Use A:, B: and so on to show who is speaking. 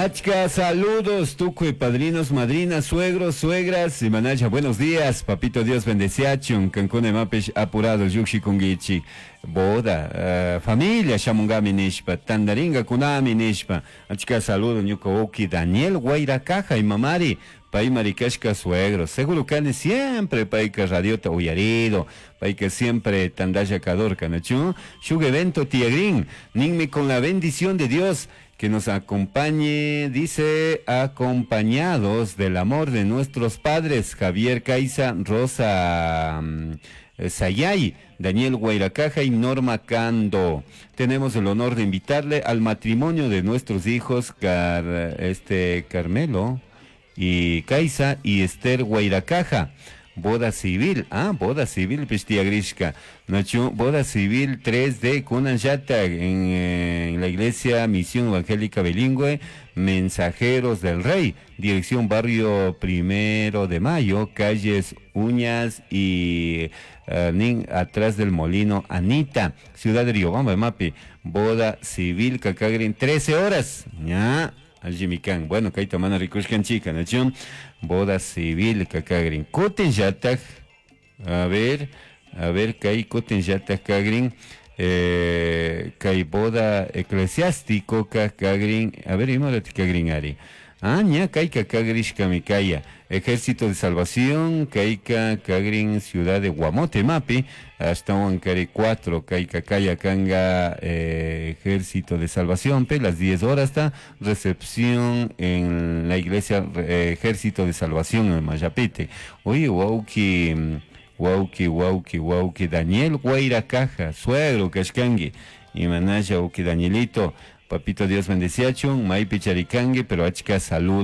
A: Achka saludos, tukuy padrinos, madrinas, suegros, suegras, imanacha, buenos días, papito Dios bendeciachun, kankuna imapish apurado llukshikunkichik, boda, familia shamungami nishpa, tandaringa kunami nishpa, achka saludo ñuka wawki Daniel Guairacaja imamari, paymari kashka suegro, seguro kani siempre payka radiota uyarido, payka siempre tandalla kadorka, nachu? Shuk evento tiyagrin, ninmi con la bendición de Dios, que nos acompañe, dice, acompañados del amor de nuestros padres, Javier Caiza, Rosa Sayay, Daniel Guairacaja y Norma Cando. Tenemos el honor de invitarle al matrimonio de nuestros hijos, Carmelo y Caiza y Esther Guairacaja. Boda civil, boda civil, pistiagrishka. Nachu, boda civil 3D Kunanjata en la iglesia Misión Evangélica Bilingüe, Mensajeros del Rey, dirección Barrio Primero de Mayo, calles Uñas y Nin, atrás del Molino Anita, Ciudad de Riobamba, Mapi, boda civil Cacagrin, 13 horas, ya. Aljimikan, bueno, kayta mana rikushkan chica, nachu, boda civil kakagrin. Kutin llatak, a ver, a ver, kay kutin llatak kagrin, kay boda eclesiástico kakagrin, a ver, ima kagrin ari. Ah, ña, kayka kagrishkami kaya. Ejército de Salvación, kayka kagrin Ciudad de Guamote, mapi, hasta Huancari 4, kayka kaya kanga, Ejército de Salvación, pe, las 10 horas está, recepción en la iglesia, Ejército de Salvación en Mayapete. Oye, wauki, wauki, wauki, wauki, Daniel Guairacaja, suegro kashkangi, y manaya, wauki Danielito, papito Dios bendeciachun, maipi charikangi, pero achka salud.